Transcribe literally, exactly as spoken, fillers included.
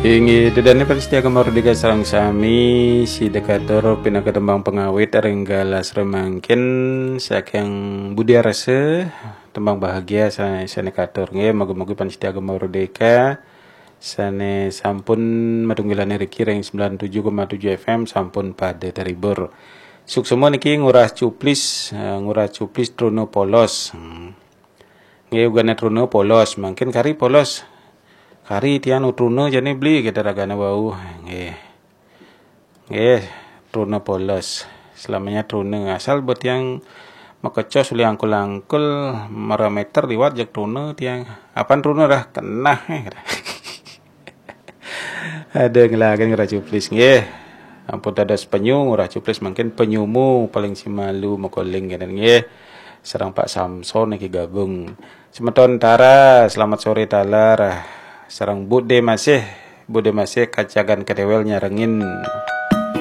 Inggih, ida dané pamiarsa Gema Merdeka sareng sami, sida katur pinaka tembang pangawit ring galah remangkin saking Budi Arasa, tembang bahagia sa-, sané katur. Nggih, moga-moga pamiarsa Gema Merdeka sané sampun matunggilan riki ring sembilan tujuh koma tujuh F M sampun pada terhibur. Suksma niki Ngurah Cuplis, eh, Ngurah Cuplis Truna Polos. Hmm. Nggih, ugané truna polos, mangkin kari polos. Kari tiang nu truna jani beli kita ragané wau. Nggih. Nggih, truna polos. Selamanya truna, asal buat tiang makecos ulih angkul-angkul marameter liwat jak truna tiang. Apan truna dah kenah, eh. Ada ngelagan Ngurah Cuplis nggih. Ampun dados penyu Ngurah Cuplis, mangkin penyumu paling simalu makoling kenen nggih. Sareng Pak Samson niki gabung. Semeton Tara, selamat sore taler. Sareng Bude Masih, Bude Masih kacagan kedewel nyarengin.